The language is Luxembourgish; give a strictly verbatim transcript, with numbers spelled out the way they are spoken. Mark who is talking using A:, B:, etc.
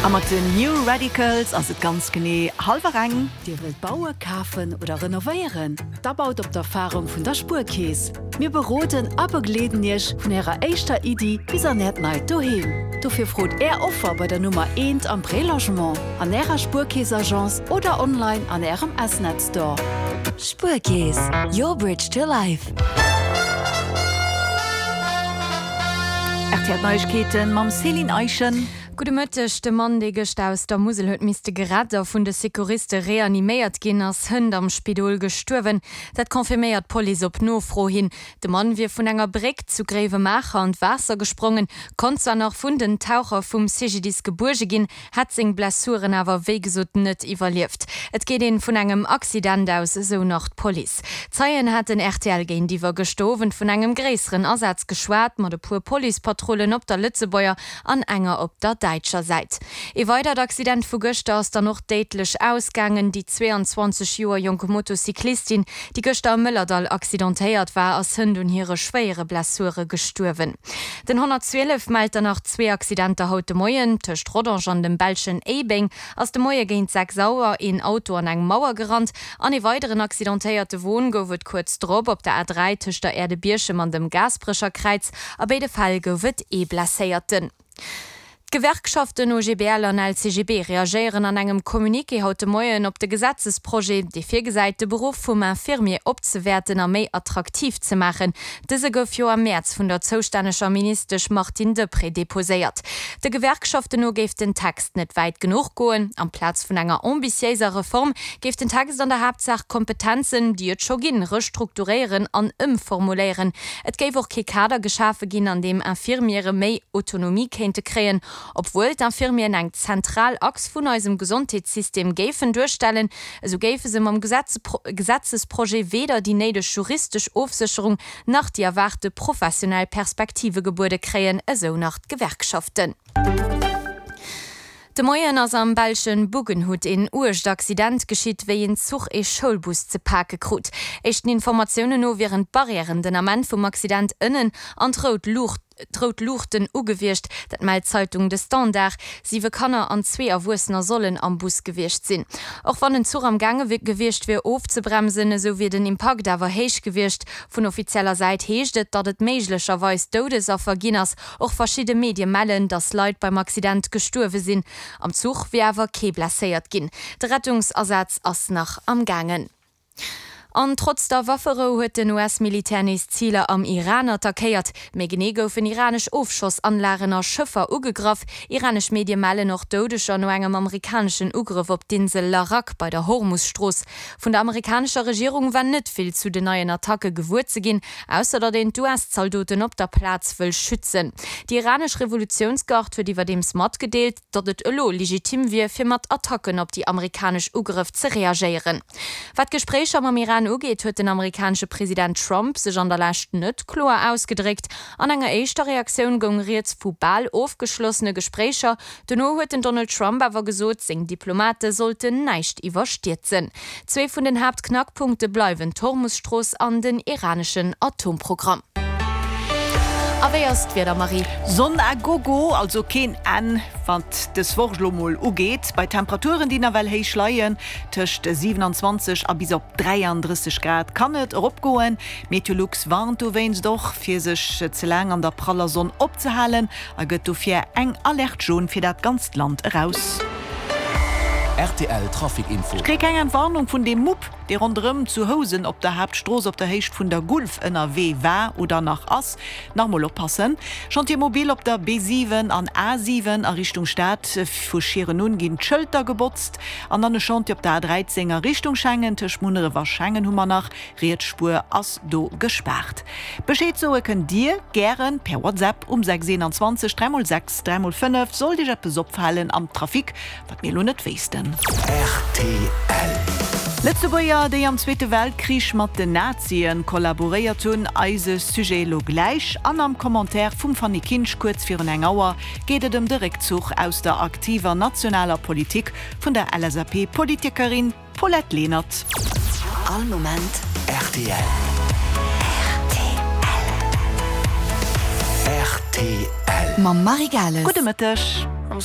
A: A mat den New Radicals ass et ganz genee hallwer eng.
B: Dir wëllt bauen, kafen oder renovéieren? Da baut op d'Erfarung vun der Spuerkeess. Mir beroden a begleeden Iech vun Ärer éischter Iddi bis an Äert neit Doheem. Dofir frot Är Offer bei der Nummer eent am Prélogement, an Ärer Spuerkeess-Agence oder online an Ärem S-Net Store.
C: Spuerkeess, your bridge to life.
A: R T L Neiegkeeten mam Céline Eischen.
D: Gudde Mëtteg, De Mann, dee gëschter aus der Musel huet misste gerett a vun de Secouriste reaniméiert ginn, ass hënt am Spidol gestuerwen. Dat confirméiert d'Police op Nofro hin. De Mann wier vun enger Bréck zu Gréiwemaacher an d'Waasser gesprongen, konnt zwar nach vun den Taucher vum C G D I S gebuerge ginn, hätt seng Blessuren awer wéi gesot net iwwerlieft. Et geet een vun engem Accident aus, esou nach d'Police. Zeien haten R T L géintiwwer gëschter Owend vun engem gréisseren Asaz geschwat, mat e puer Policepatrullen op der Lëtzebuerger an enger op der däitscher Säit. Ee weidert Accident vu gëschter ass dann och déidlech ausgaangen. Déi zweeanzwanzeg Joer jonk Motocyclistin, déi gëschter am Mëllerdall accidentéiert war, ass hënt un hire schwéiere Blessure gestuerwen. Den honnertzwielef mellt dann nach zwee Accidenter haut de Moien. Tëscht Rodange an dem belschen Éibeng ass de Moie géint sechs Auer een Auto an eng Mauer gerannt. An ee weideren accidentéierte Won gouf et kuerz drop op der A dräi tëscht der Aire de Bierchem an dem Gaasperecher Kräiz. A béide Fäll gouf et ee Blesséierten. D'Gewerkschaften O G B L an L C G B reagéieren an engem Communiqué haut de Moien op de Gesetzesprojet, dee virgesäit, de Beruff vum Infirmier opzewäerten a méi attraktiv ze maachen. Dëse gouf jo am Mäerz vun der zoustänneger Ministesch Martine Deprez deposéiert. De Gewerkschaften no géif den Text net wäit genuch goen. Amplaz vun enger ambitiéiser Reform géif den Text an der Haaptsaach Kompetenzen, déi et scho ginn, restrukturéieren an ëmformuléieren. Et géif och kee Kader geschafe ginn, an deem Infirmiere méi Autonomie kéinte kréien. Obwuel d'Infirmieren eng zentral Achs vun eisem Gesondheetssystem géifen duerstellen, esou géife se mam Gesetzesprojet weder déi néideg juristesch Ofsécherung nach déi erwaarte professionell Perspektive gebuede kréien, esou nach d'Gewerkschaften. De Moien ass am belschen Buggenhout een uergt Accident geschitt, wéi een Zuch ee Schoulbus ze pake krut. Éischten Informatiounen no wieren d'Barrièren den Ament vum Accident ënnen an d'rout Luucht d'rout Luuchten ugewiescht, dat mellt d'Zeitung De Standaard. Siwe Kanner an zwee Erwuessener sollen am Bus gewiescht sinn. Och wann den Zuch am Gaange gewiescht wier ofzebremsen, esou wier den Impakt awer héich gewiescht. Vun offizieller Säit heescht et, datt et méiglecherweis Doudesaffer ginn ass. Och verschidde Medie mellen, datt Leit beim Accident gestuerwe sinn. Am Zuch wier awer kee blesséiert ginn. De Rettungsasaz ass nach am Gaangen. An trotz der Wafferou huet den U S-Militär nees Ziler am Iran attackéiert. Méi genee goufen iranesch Ofschossanlagen a Schëffer ugegraff. Iranesch Medie mellen och Doudeger no engem amerikaneschen Ugrëff op d'Insel Larak bei der Hormus-Strooss. Vun der amerikanescher Regierung war net vill zu den neien Attacke gewuer ze ginn, ausser datt een d'U S-Zaldoten op der Plaz wëll schützen. Déi iranesch Revolutiounsgard huet iwwerdeems matgedeelt, datt et elo legitim wier, fir mat Attacken op déi amerikanesch Ugrëff ze reagéieren. Wat d'Gespréicher mam Iran ugeet, huet den amerikanesche President Trump sech an der Lescht net kloer ausgedréckt. An enger éischter Reaktioun goung rieds vu bal ofgeschlossene Gespréicher. Dono huet den Donald Trump awer gesot, seng Diplomate sollten näischt iwwerstierzen. Zwee vun den Haaptknackpunkte bleiwen d'Hormus-Strooss an den iraneschen Atomprogramm. A wéi ass d'Wieder, Marie?
A: Sonn a gogo, also keen Enn, wat dës Woch lo mol ugeet. Bei Temperaturen, déi nawell héich leien, tëscht siewenanzwanzeg a bis op dräiandrësseg Grad kann et eropgoen. Meteolux warnt dowéinst och, fir sech ze laang an der praller Sonn opzehalen a gëtt dofir eng Alerte jaune fir dat ganzt Land eraus.
E: R T L Trafic Info.
A: Ech kréie keng Entwarnung vun deem Mupp, dee ronderëm zu Housen op der Haaptstrooss op der Héicht vun der Gulf ënnerwee war oder nach ass. Nach mol oppassen. Chantier mobile op der B siwen an A siwen a Richtung Stad, vu Schieren un ginn d'Schëlter gebotzt. An dann e Chantier op der A dräizéng a Richtung Schengen, tëscht Munneref a Schengen hu mer nach, riets Spuer ass do gespaart. Bescheed soe kënnt Dir gären per WhatsApp um sechs eenanzwanzeg dräi mol sechs dräi mol fënnef, sollt Iech eppes opfalen am Trafic, wat mir elo net wéissten.
E: R T L.
A: Lëtzebuerger, déi am Zweete Weltkrich mat den Nazien kollaboréiert hunn, eise Sujet elo gläich. An am Commentaire vum Fanny Kinsch kuerz virun eng Auer geet et ëm de Réckzuch aus der aktiver nationaler Politik vun der L S A P-Politikerin Paulette Lenert.
C: All Moment
E: R T L.
C: R T L.
E: R T L.
C: Mam Marie Gales.
A: Gudde Mëtteg.